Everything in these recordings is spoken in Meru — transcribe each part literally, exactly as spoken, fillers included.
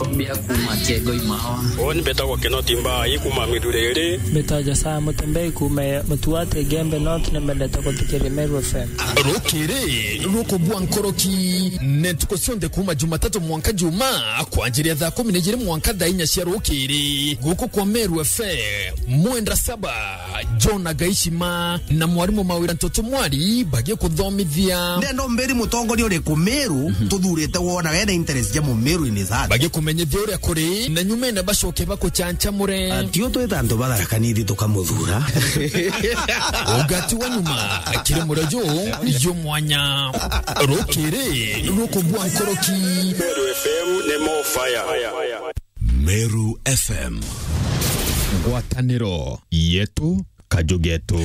Mbia kuma Kiengoi Mawa. Uni mbetagwa Kinoti Mbai kuma Mithuriri. Mbetagwa Josiah Mutembei kuma Mutuati Igembe North, ni mbendete kuthikiria Meru F M. Rukiri rukubua nkoroki ni ntuku cionthe kuma Jumatatu mwanka Juma, kwanjiria thaa kumi na ijiri mwanka thaa inya cia rukiri, guku kwa Meru F M. Mwenda Saba, John Agaishima na mwarimu Mawira Ntoto Mwari bagikuthomithia. Ndenda umbiri mutongoria uriku Meru tuthurite wona wena interest ja Mumeru in his heart. Bagikumenyithia uria kuri, na nyumene bacoke bakuchanchamure. Atio twita antu ba Tharaka Nithi tukamuthura. Ugati wa nyuma, kiri murejo, yo mwanya. Rukiri rukubua nkoroki. Meru F M ni more fire. Meru F M. Ngwataniro yetu, kaju getu.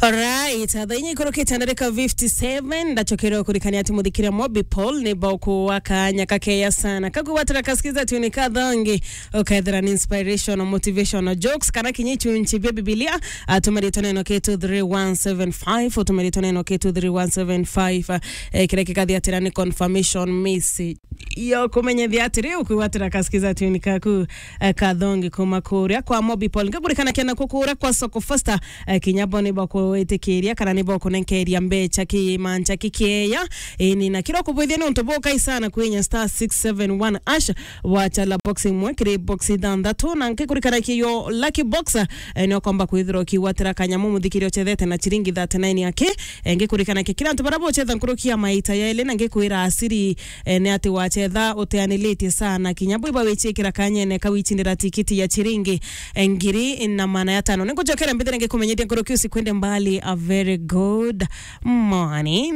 Alright, thaa inya ikurukite na ndagika fifty seven, ndacokere kurikania ati muthikiria Mobi Paul ni bauku wa kanya kakeya sana. Kagwatira kasikiza tuni kathangi, ukethira ni inspirational, motivational jokes, kana kinya ichunchi bia Bibilia, atumaritwe neno K two three one seven five, utumaritwe neno K two three one seven five, eh, kiria kikathi atira ni confirmation message. Yo kumenyethia atiri, ukwigwatira kasikiza tuni kaku, eh, kathongi kuma kuria kwa Mobi Paul. Ngakurikana kiana kukuria kwa Soko Fasta, eh, kinya bo ni bakwitikiria kana ni bakunenkeria mbecha ki mancha kikieya. Ini na kiro kubwithia ni untu bukai sana kwinya star six seven one ash, wachala box imwe kiri box ithanthatu, na ngikurikana kiyo lucky box, eh, ni ukomba kwithirwa ukigwatira kanyamu muthikiri uchethete na chiringi thirty-nine yake. Eh, ngikurikana ki kira antu bara buchetha nkuruki ya maita yaili, na ngikwira asiri, eh, ni ati wachetha uteanilitie sana, kinya bwiba wichikira kanyene ka wichindira tikiti ya chiringi, eh, ngiri na maana ya tano. Ningujokera mbithire ngikumenyithia nkuruki usikwende mbali. A very good morning.